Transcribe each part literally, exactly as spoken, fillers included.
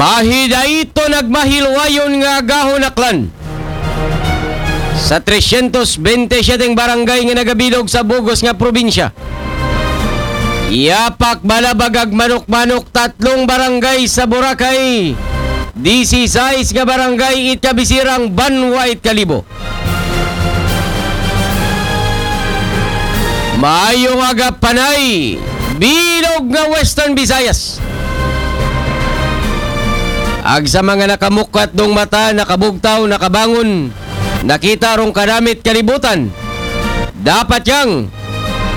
Pahidaiton nagmahilwayon nga agahon aklan sa tresyentos bente siyete barangay nga nagabilog sa bug-os nga probinsya. Yapak balabag ag manok-manok tatlong barangay sa Boracay, disisais nga barangay it kabisirang banwa it Kalibo. Maayong aga, Panay, bilog nga Western Visayas. Ag sa mga nakamukat dong mata, nakabugtaw, nakabangon, nakita rong kadamit kalibutan. Dapat yang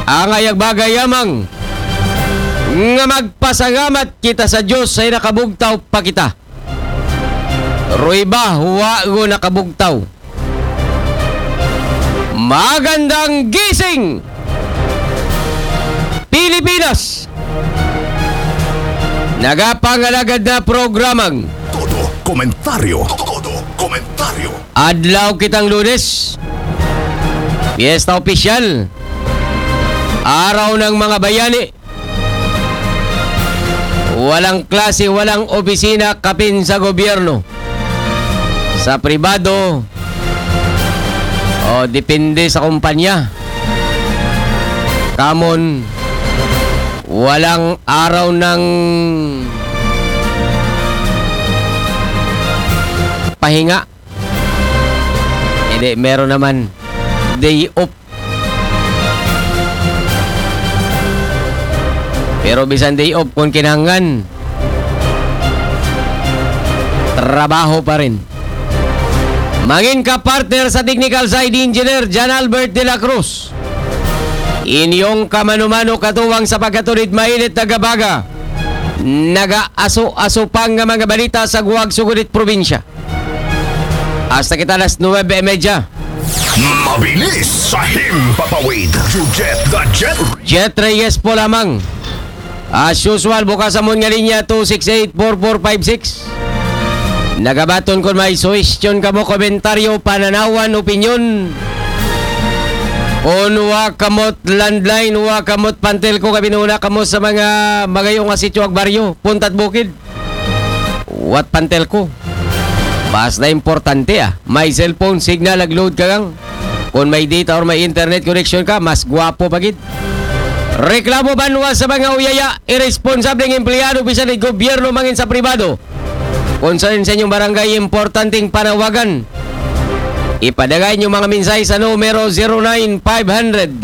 angay ag bagay yamang nga magpasangamat kita sa Diyos ay nakabugtaw pa kita. Roy ba, wa go nakabugtaw. Magandang gising, Pilipinas! Nagapangalagad na programang Todo komentaryo. Todo komentaryo. Adlaw kitang Lunes. Piyesta opisyal. Araw ng mga bayani. Walang klase, walang opisina, kapin sa gobyerno, sa pribado, o depende sa kumpanya. Kamon, walang araw ng pahinga. Hindi, meron naman day off. Pero bisan day off, kung kinahanglan, trabaho pa rin. Mangin ka partner sa technical side, Engineer John Albert de la Cruz. Inyong kamano-mano katuwang sa pagkatulid mainit na gabaga. Nagaaso-aso pa nga mga balita sa guwag sugunit probinsya. Hasta kita alas nuwebe y medya. Mabilis sa himpapawid. Jujet the Jet. Jet Reyes po lamang. As usual, bukas amon nga linya two six eight four four five six. Nagabaton kon may suhestyon kamo, komentaryo, pananawan, opinyon. Kon wa kamot landline, wa kamot pantelko, kabinuna kamo sa mga magayo nga sityo ag baryo, puntad bukid. Wat pantelko. Mas na importante, ah. May cellphone signal, nag-load ka gang. Kung may data or may internet connection ka, mas gwapo pa gid. Reklamo banwa sa mga uyaya, irresponsableng empleyado, bisan sa gobyerno mangin sa pribado. Concern sa inyong barangay, importanteng panawagan. Ipadagay inyong mga mensahe sa numero zero nine five hundred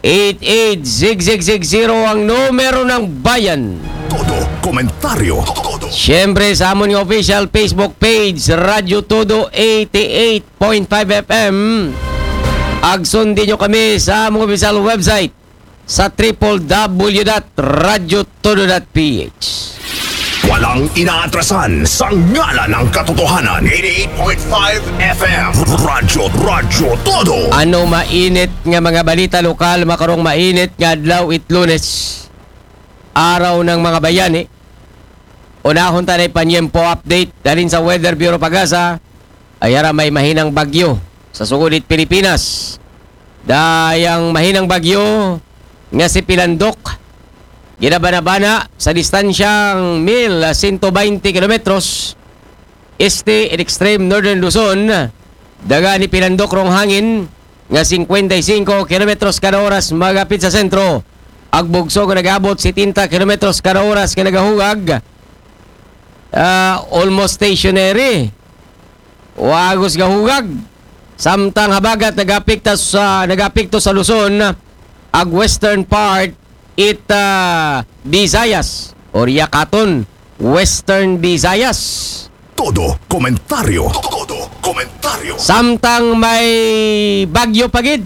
eight eight six six six zero, ang numero ng bayan. Todo komentaryo. Todo. Siyempre, sa amon nga official Facebook page, Radyo Todo eighty-eight point five F M. Ag sundin nyo kami sa among official website sa triple W dot radyo todo dot P H. Walang inaatrasan sa ngalan ng katotohanan. Eighty-eight point five F M. Radyo, Radyo Todo. Ano mainit nga mga balita lokal makarong mainit nga adlaw it Lunes? Araw ng mga bayani. Unahon ta na panyempo update dalin sa Weather Bureau PAGASA. Ay ara, may mahinang bagyo sa sugod it Pilipinas. Dayang mahinang bagyo nga si Pilandok, ginabanabana sa distansyang mil sento baynte kilometros este in extreme northern Luzon. Daga ni Pilandok rong hangin nga singkwenta y singko kilometros kada oras magapit sa sentro. Ag bugso nga nag-abot setenta kilometros kada oras nga nagahugag, ah, almost stationary. Wa gos gahugag. Samtang habagat nagapekta sa, nagapekto sa Luzon ag western part it, ah, Visayas or yakaton Western Visayas. Todo komentaryo. Todo komentaryo. Samtang may bagyo pa gid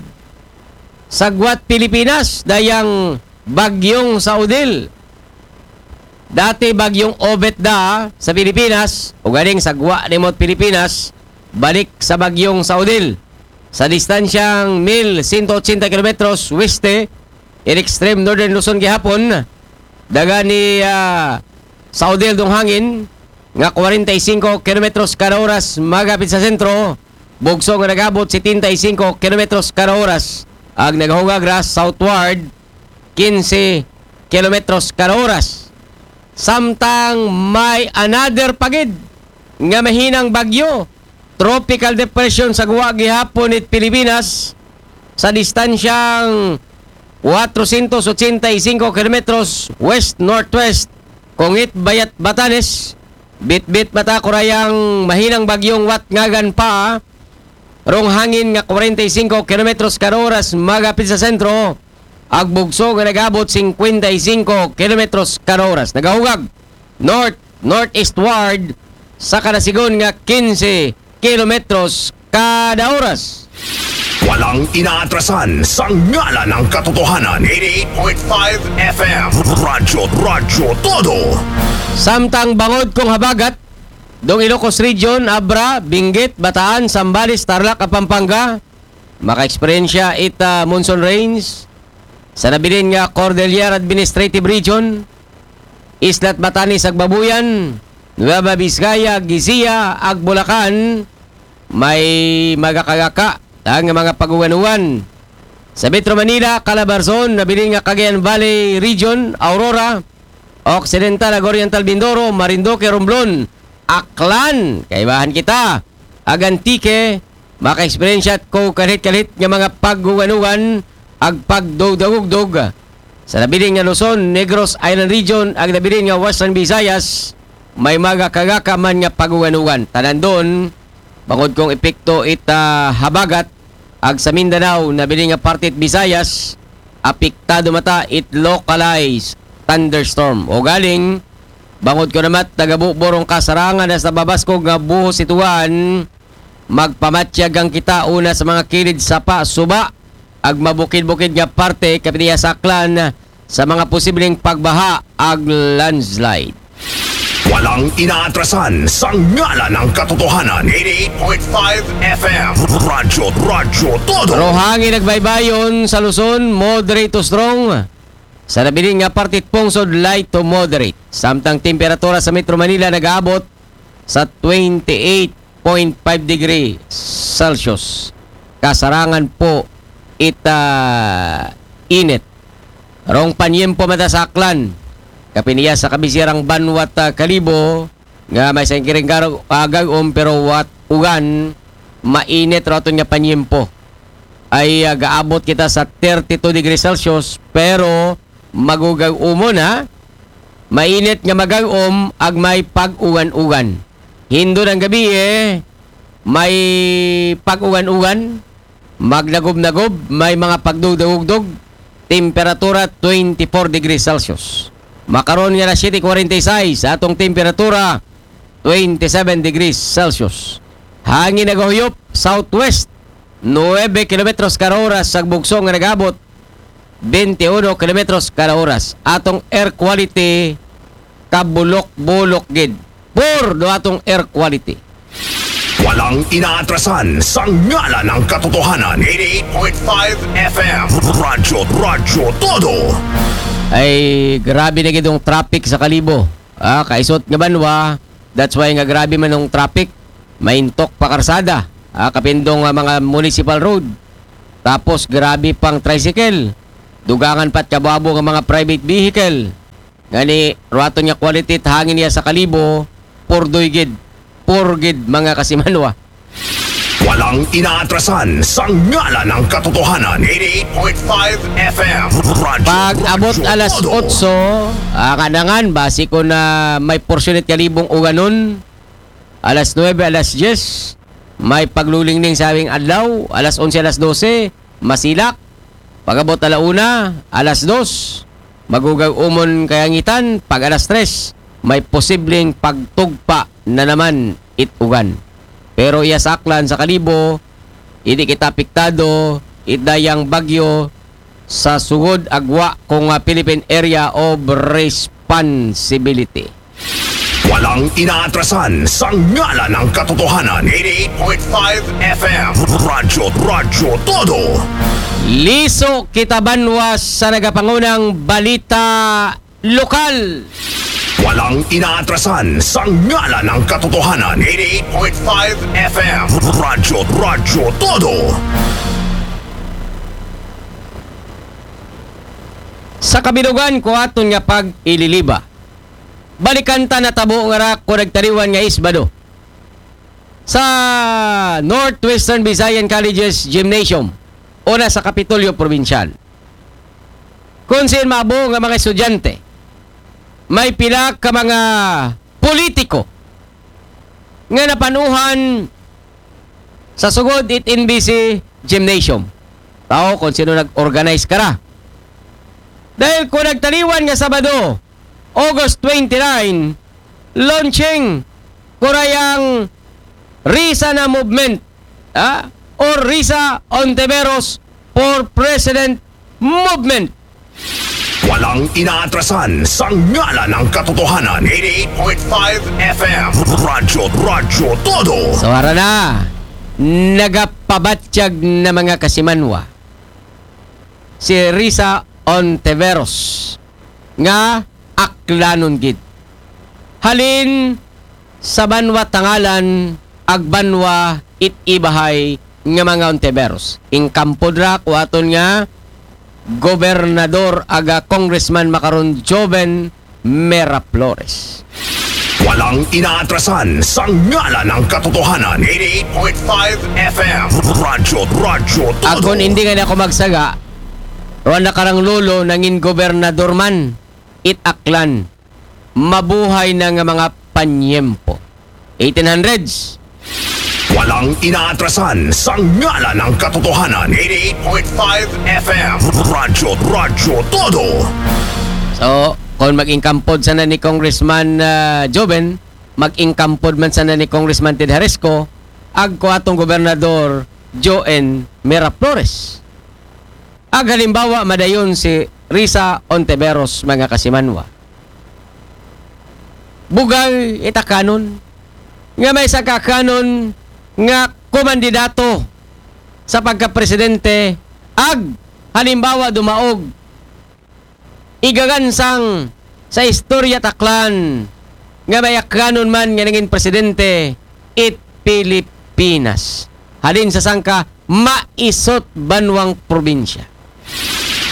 sa gwat Pilipinas, dayang bagyong sa Odile. Dati bagyong Obet da sa Pilipinas, ug ganing sa gwa nimot Pilipinas, balik sa bagyong sa Odile. Sa distansyang mil sento ochenta kilometros weste, in extreme northern Luzon gihapon, daga ni, ah, sa Odile dong hangin nga kwarenta y singko kilometros kada oras magapit sa sentro, bugso nga nagabot setenta y singko kilometros kada oras, ag nagahugag ra southward kinse kilometros kada oras. Samtang may another pa gid nga mahinang bagyo, tropical depression sa guwa gihapon it Pilipinas sa distansyang kwatrosyentos otsenta y singko kilometros west-northwest kung it bayat Batanes. Bitbit mata kurayang mahinang bagyong watngagan pa rong hangin nga kwarenta y singko kilometros kada oras magapit sa sentro, ag bugso nga nagabot singkwenta y singko kilometros kada oras. Nagahugag north-northeastward sa kada sigon nga kinse kilometros kada oras. Walang inaatrasan sa ngalan ng katotohanan. Eighty-eight point five F M. Radyo, Radyo Todo. Samtang bangod kong habagat, dong Ilocos Region, Abra, Benguet, Bataan, Zambales, Tarlac, Pampanga, maka-eksperyensya it ah, monsoon rains sa nabilin nga Cordillera Administrative Region, Isla't Batanes ag Babuyan, Nueva Vizcaya, Guisilla ag Bulacan, may magakagaka ang mga paguganugan. Sa Metro Manila, Calabarzon, nabilin nga Cagayan Valley Region, Aurora, Occidental ag Oriental Mindoro, Marinduque, Romblon, Aklan, kaibahan kita, ag Antique, maka-eksperyensya ko kalhit-kalhit nga mga paguganugan ag pagdugdagugdog. Sa nabilin nga Luzon, Negros Island Region, ag nabilin nga Western Visayas, may magakagaka man nga paguganugan. Tanan don, bangod kong epekto it ah, habagat, ag sa Mindanao, nabilin nga parte it Visayas, apektado mata it localized thunderstorm. O galing, bangod ko namat nagabuborong kasarangan na sa babaskog nga buhos ituan, magpamatyag ang kita una sa mga kilid sapa, suba, ag mabukid-bukid nga parte kapin iya saklan sa mga posibleng pagbaha ag landslide. Walang inaatrasan sa ngalan ng katotohanan. Eighty-eight point five F M. Radyo, Radyo Todo. Rohangin nagbaybayon sa Luzon, moderate to strong. Sa nabilin nga parte pungsod, light to moderate. Samtang temperatura sa Metro Manila nagaabot sa twenty-eight point five degree Celsius. Kasarangan po ita init. Rong panyempo mata sa Aklan. Kapin iya sa kabisirang banwat ah, Kalibo nga may sangkiring karo kagag-om pero wat ugan mainit raton nga panyempo. Ay ah, gaabot kita sa thirty-two degrees Celsius pero magugag-umon ha. Mainit nga magag-om ag may pag-ugan-ugan. Hindo ng gabi eh, may pag-ugan-ugan, magnagob-nagob, may mga pagdugdagugdog, temperatura twenty-four degrees Celsius. Makaron nga alas siyete kwarenta y seis, atong temperatura twenty-seven degrees Celsius. Hangin nagahuyop, southwest, nuebe kilometros kada oras sa bugso nga nagabot, twenty-one kilometros kada oras. Atong air quality, kabulok-bulok gid. Poor do atong air quality. Walang inaatrasan sa ngalan ng katotohanan. Eighty-eight point five F M. Radyo, Radyo Todo. Ay, grabe na gid ang traffic sa Kalibo. Ah, kaisot nga banwa, that's why nga grabe man ang traffic. Maintok pa karsada. Ah, kapindong ah, mga municipal road. Tapos grabe pang tricycle. Dugangan pat kababo nga mga private vehicle. Ngani, ruaton nga quality it hangin niya sa Kalibo, purdoy gid. Poor gid, mga kasimanwa. Walang inaatrasan sa ngalan ng katotohanan. Eighty-eight point five F M. Radyo, Pag abot Radyo alas Todo. otso, ah, kanangan, basi ko na may porsyon it Kalibong uganon. Alas nuebe, alas diyes, may paglulingning sa awing adlaw. Alas onse, alas dose, masilak. Pag-abot ala una, alas dos, magugag-umon kayangitan. Pag alas tres, may posibleng pagtugpa na naman it ugan. Pero iya sa Aklan, sa Kalibo, hindi kita apektado it dayang bagyo sa sugod agwa kung ah, Philippine Area of Responsibility. Walang inaatrasan sa ngalan ng katotohanan. Eighty-eight point five F M. Radyo, Radyo Todo. Liso kita banwa sa nagapangunang balita lokal. Walang inaatrasan sa ngalan ng katotohanan. Eighty-eight point five F M. Radyo, Radyo Todo. Sa kabilugan ko aton nga pag-ililiba. balikan ta natabo nga ra ko nagtaliwan nga Isbado sa Northwestern Visayan Colleges Gymnasium, una sa Kapitolyo Probinsyal. Kung sin maabo nga mga estudyante, may pila ka mga politiko nga napanuhan sa sugod it N B C Gymnasium. Tao kung sino nag-organize kara. Dahil ko nagtaliwan nga Sabado, August twenty-nine, launching ko ra yang Risa na Movement, ah, or Risa Ontiveros for President Movement. Walang inaatrasan sa ngalan ng katotohanan. Eighty-eight point five F M. Radyo, Radyo Todo. So, ara na, nagapabatyag na mga kasimanwa si Risa Ontiveros nga aklanon gid. Halin sa banwa Tangalan, ag banwa it ibahay nga mga Ontiveros. Ingkampod ra ko aton nga gobernador aga Congressman makaron, Joven Mera Flores. Walang inaatrasan sa ngalan ng katotohanan. Eighty-eight point five F M. Radyo, Radyo Todo. Akon hindi nga ako magsaga, Ron na karang lolo nangin gobernador man it Aklan. Mabuhay na nga mga panyempo. Eighteen hundreds. Walang inaatrasan sa ngalan ng katotohanan. Eighty-eight point five F M. Radyo, Radyo Todo. So, kung mag-ingkampod sana ni Congressman ah, Joven, mag-ingkampod man sana ni Congressman Ted Haresco, ag ko atong gobernador, Joen Mera Flores. Ag halimbawa, madayon si Risa Ontiveros, mga kasimanwa. Bugal it Aklanon nga may sangka Aklanon nga kumandidato sa pagkapresidente, ag halimbawa dumaog igagansang sa istorya it Aklan nga may Aklanon man nga nangin presidente it Pilipinas. Halin sa sangka maisot banwang probinsya.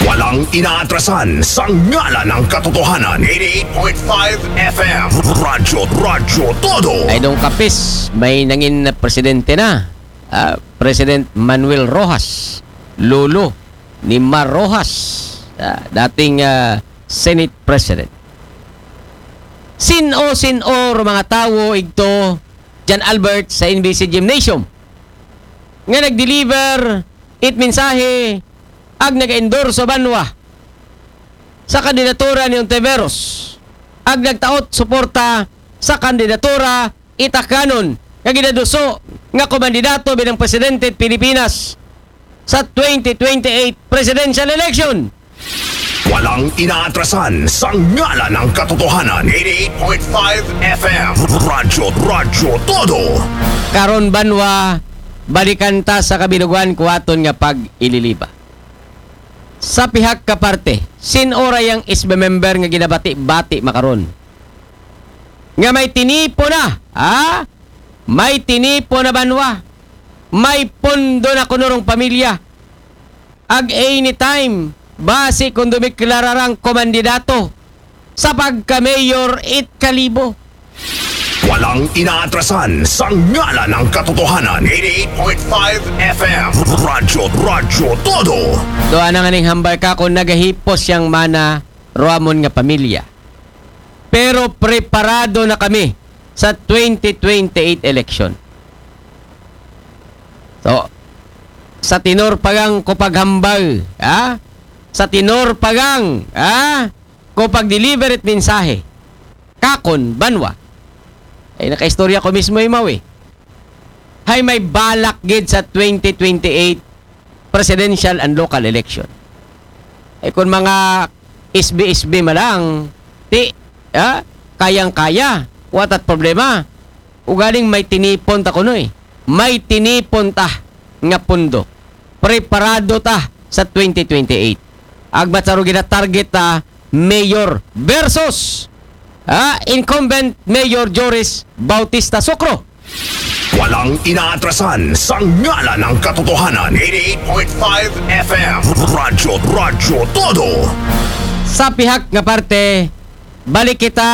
Walang inaatrasan sa ngalan ng katotohanan. Eighty-eight point five F M. Radyo, Radyo Todo. Ay, dong kapis, may nangin na presidente na. Ah, President Manuel Roxas, lolo ni Mar Roxas, ah, dating ah, Senate President. Sin-o, sin-o ro mga tawo igto, John Albert, sa N B C Gymnasium nga nag-deliver it mensahe ag nag-endorso banwa sa kandidatura ni Ontiveros, ag nagtaot suporta sa kandidatura it Aklanon nga ginaduso nga kumandidato bilang presidente it Pilipinas sa twenty twenty-eight presidential election. Walang inaatrasan sa ngalan ng katotohanan. Eighty-eight point five F M. Radyo, Radyo Todo. Karon banwa, balikan ta sa kabilugan ko aton nga pag-ililiba. Sa pihak ka parte, sin-o ra yang S B member nga ginabati-bati makaron nga may tinipo na, ha? May tinipo na banwa. May pondo na kuno rong pamilya. Ag anytime, basi kung dumiklara rang kumandidato sa pagka-mayor it Kalibo. Walang inaatrasan sa ngalan ng katotohanan. Eighty-eight point five F M. Radyo, Radyo Todo. Doon ang aning hambal ka kung nagahipos yang mana ruamon nga pamilya. Pero preparado na kami sa twenty twenty-eight election. So, sa tenor pa gang ko paghambal, ha? Sa tenor pa gang, ha? Ko pag-deliver it mensahe. Kakon, banwa. Ay, nakaistorya ko mismo imaw eh. Hay may balak gid sa twenty twenty-eight presidential and local election. Ay, kung mga S B S B malang, ti, ha? Kayang-kaya. Watat problema. Ugaling may tinipon ta kuno eh. May tinipon ta nga pundo. Preparado ta sa twenty twenty-eight. Agbat sa rugi na target ta, mayor versus ah, incumbent Mayor Joris Bautista Socro. Walang inaatrasan sa ngalan ng katotohanan. Eighty-eight point five F M. Radyo, Radyo Todo. Sa pihak nga parte, balik kita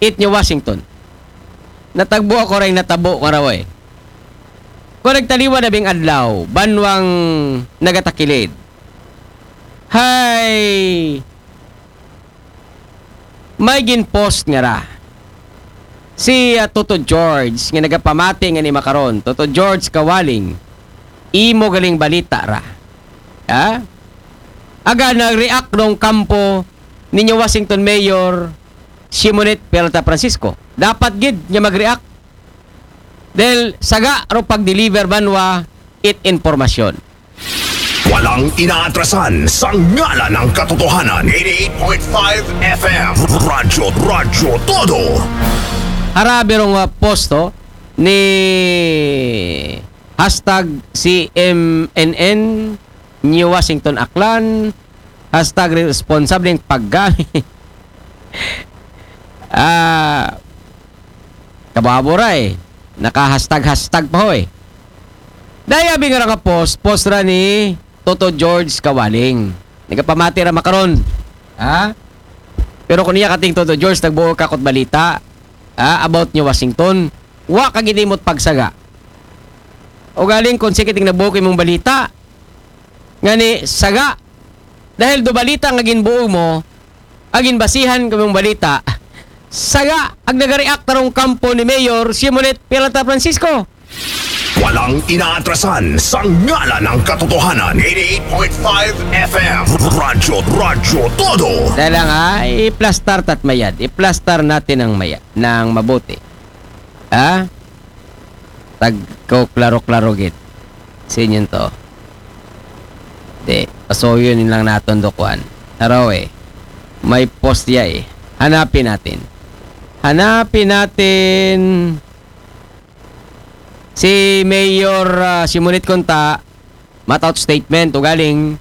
it New Washington. Natagbo ako rin, natabo ko raw eh. Kung nagtaliwa na bing adlaw, banwang nagatakilid. Hay, may gin-post nga ra. Si ah, Toto George, nga nagapamati nga ni makaron, Toto George Kawaling, imo galing balita ra. Ha? Aga nag-react nung kampo ninyo Washington Mayor Simonette Peralta Francisco. Dapat gid niya mag-react. Dahil saga ro pag-deliver banwa it informasyon. Walang inaatrasan sa ngalan ng katotohanan. eighty-eight point five F M. Radyo, Radyo Todo. Harabi rong uh, posto ni hashtag C M N N New Washington Aklan, hashtag responsable ng paggamit. Ah, kababora eh. Naka-hashtag-hashtag pa ho eh. Daya bing nga post, post ra ni Toto George Kawaling. Nagapamati ra makaron. Ha? Pero kung niya kating Toto George, nagbuo ka kot balita ha? About ni Washington. Wa ka gidimot pagsaga. O galing kung sige ting nabuo ko imong balita. Nga ni saga. Dahil do balita nga ginbuo mo, agin basihan ko imong balita. Saga, ag nagareact tarong kampo ni Mayor Simonette Peralta Francisco. Walang inaatrasan sa ngalan ng katotohanan. eighty-eight point five F M. Radyo, Radyo Todo. Dahil lang ha, iplastar tat mayad. Iplastar natin ang mayad, ng mabuti. Ha? Tagko klaro-klaro gid. Sinyon to. Di, pasuyo ni lang naton do kuan. Taraw eh. May post ya eh. Hanapin natin. Hanapin natin si Mayor ah, Simonette Conta, mataw statement o galing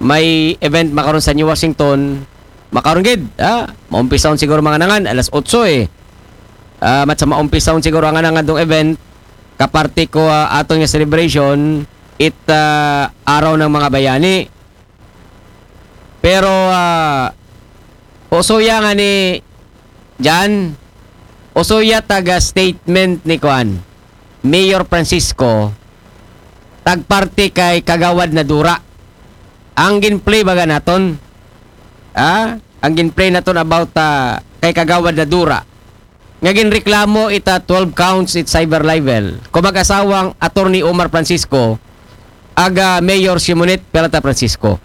may event makaron sa New Washington. Makaron gid, ha? Maumpisahon siguro mga nangan, alas otso eh. Ah, mat sa maumpisahon siguro ang nangan dong event, kaparte ko ah, aton nga celebration, it ah, araw ng mga bayani. Pero ah, usuya nga ni Jan, usuya taga statement ni Kuan, Mayor Francisco, tagparte kay Kagawad Nadura. Ang ginplay baga naton, ah, ang ginplay naton about ah, kay Kagawad Nadura. Nga ginreklamo ita twelve counts it cyber libel. Kung mag-asawang Attorney Omar Francisco, aga Mayor Simonette Peralta Francisco.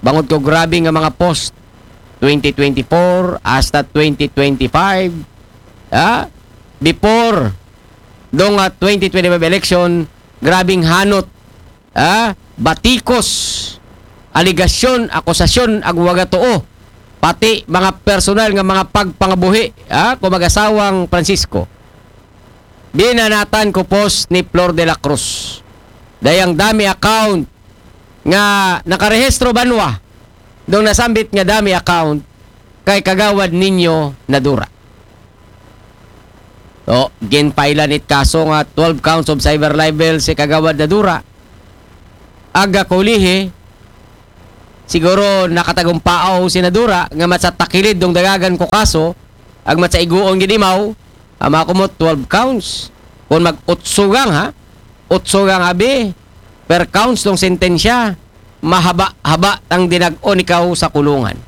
Bangod ko grabe nga mga post, twenty twenty-four hasta twenty twenty-five, ha? Before, dong ah, twenty twenty-five election, grabing hanot, ha? Batikos, aligasyon, akusasyon, ag waga tuo, pati mga personal nga mga pagpangabuhi, ha? Kung mag-asawang Francisco. Binanatan ko post ni Flor de la Cruz. Dayang dami account nga nakarehistro banwa dong nasambit nga dami account kay Kagawad Ninyo Nadura. So, ginpailan it kaso nga twelve counts of cyber libel si Kagawad Nadura. Aga kulihi, siguro nakatagumpaaw si Nadura nga matsa takilid dong dagagan ko kaso, ag matsa iguon gid imaw, ama ko mo twelve counts. Kung mag-utsugang ha, utsugang abi, per counts tong sentensya, mahaba-haba tang dinag-on ikaw sa kulungan.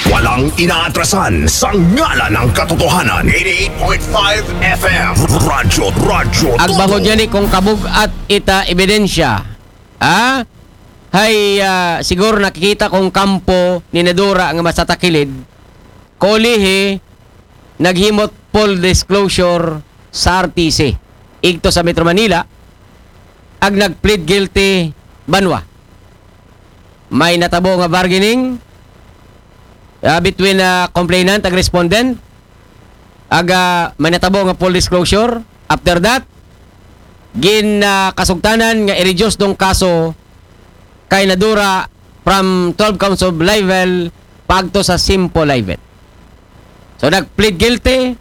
Walang inaatrasan sa ngalan ng katotohanan. eighty-eight point five F M. Radyo, Radyo Ag Todo. Bangod yan eh, kung kabug-at ita ebidensya, ha? Hay, ah, siguro nakikita kong kampo ni Nadura nga masatakilid, kulihi, naghimot full disclosure sa R T C. Igto sa Metro Manila, ag nag-plead guilty banwa. May natabo nga bargaining ah, between ah, complainant ag respondent. Aga may natabo nga full disclosure. After that, gin ah, kasugtanan nga i-reduce dong kaso kay Nadura from twelve counts of libel paagto sa simple libel. So nag-plead guilty,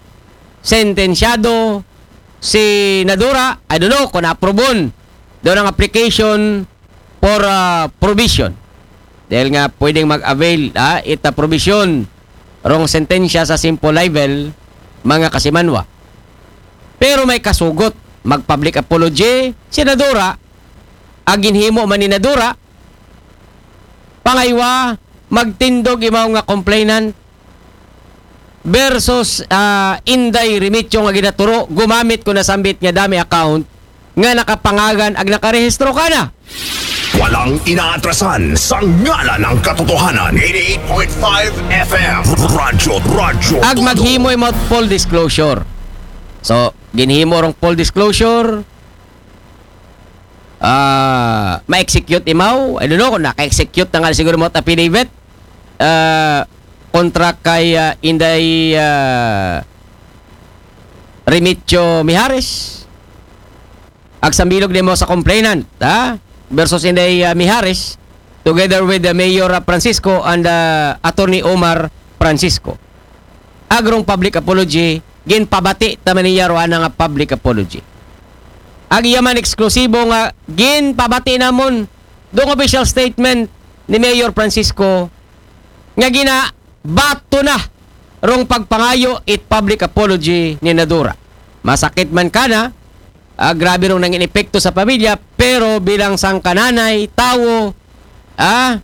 sentensyado si Nadura, I don't know kung na-approve-on daw ng application for ah, provision. Dahil nga pwedeng mag-avail ah, ita provision rong sentensya sa simple libel, mga kasimanwa. Pero may kasugot, mag-public apology si Nadura, ag ginhimo man ni Nadura, pangaywa, magtindog imaw nga complainant versus ah, Inday Remedios nga ginaturo, gumamit ko na sambit nga dami account nga nakapangagan ag nakarehistro ka na. Walang inaatrasan sa ngalan ng katotohanan. eighty-eight point five F M. Radyo, radyo. Ag maghimo imaw full disclosure. So, ginhimo rong full disclosure. Ah, ma-execute imaw. I don't know kung naka-execute na nga siguro mo affidavit. Ah, kontra kay ah, Inday ah, Remedios Mijares. Ag sambilog nimo sa complainant, ha? Versus Inday ah, Mijares, together with the Mayor ah, Francisco and ah, Attorney Omar Francisco. Ag rong public apology, ginpabati ta man niya ro ana nga public apology. Ag iya man eksklusibo nga ginpabati namon dong official statement ni Mayor Francisco nga ginabato na rong pagpangayo it public apology ni Nadura. Masakit man kana, ah, grabe rong nangin epekto sa pamilya, pero bilang sangka nanay, tawo, ah,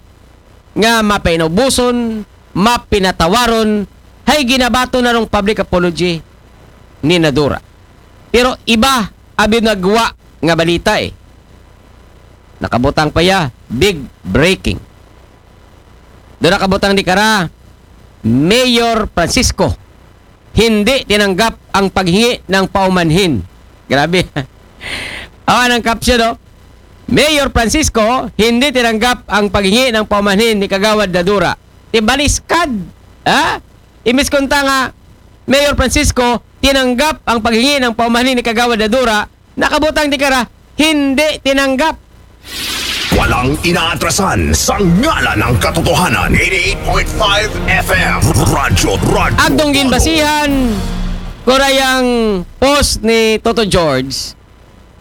nga mapainubuson, mapinatawaron, hay ginabato na rong public apology ni Nadura. Pero iba abi nagwa nga balita eh. Nakabutang pa ya, big breaking. Do nakabutang di kara, Mayor Francisco, hindi tinanggap ang paghingi ng paumanhin. Grabe. Awan ang caption, no? Mayor Francisco, hindi tinanggap ang paghingi ng paumanhin ni Kagawad Nadura. Tibaliskad. Ha? Imbis kunta nga, Mayor Francisco, tinanggap ang paghingi ng paumanhin ni Kagawad Nadura, nakabutang di kara, hindi tinanggap. Walang inaatrasan sa ngalan ng katotohanan. eighty-eight point five F M. Radyo, radyo. Agdong ginbasihan, kurayang post ni Toto George,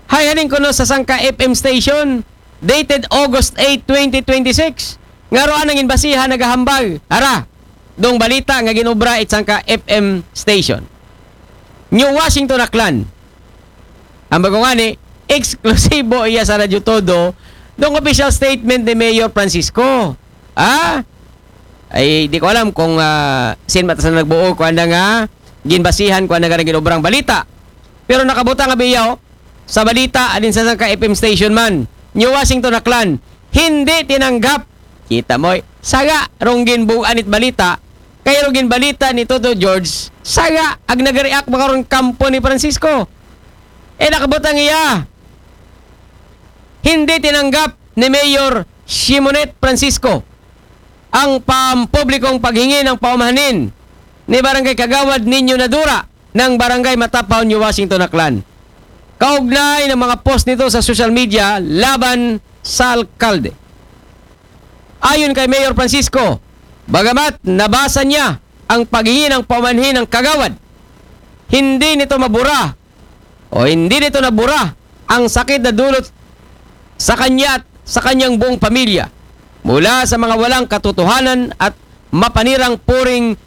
hay haning kuno sa sangka F M station, dated August eight, twenty twenty-six. Nga roan ang ginbasihan nagahambal. Ara, dong balita nga ginobra it sangka F M station. New Washington, Aklan. Ang bago nga ni, eksklusibo iya sa Radyo Todo, dong official statement ni Mayor Francisco. Ah? Ay, di ko alam kung ah, sin mata sa nagbuo ko anda nga ginbasihan ko anda nga ginobrang balita. Pero nakabutang nga biyaw sa balita adin sa sangka F M station man. New Washington, Aklan. Hindi tinanggap. Kita mo, eh. Saga rong ginbugan it balita, kay rong ginbalita ni Toto George, saga ag nag-react makaron kampo ni Francisco. Eh, nakabutang iya. Hindi tinanggap ni Mayor Simonet Francisco ang pampublikong paghingi ng paumahanin ni Barangay Kagawad Nino Nadura ng Barangay Matapaw, New Washington, Aklan. Kaugnay ng mga post nito sa social media laban sa alkalde. Ayon kay Mayor Francisco, bagamat nabasa niya ang paghingi ng paumanhin ng kagawad, hindi nito mabura o hindi nito nabura ang sakit na dulot sa kanya at sa kanyang buong pamilya mula sa mga walang katotohanan at mapanirang puring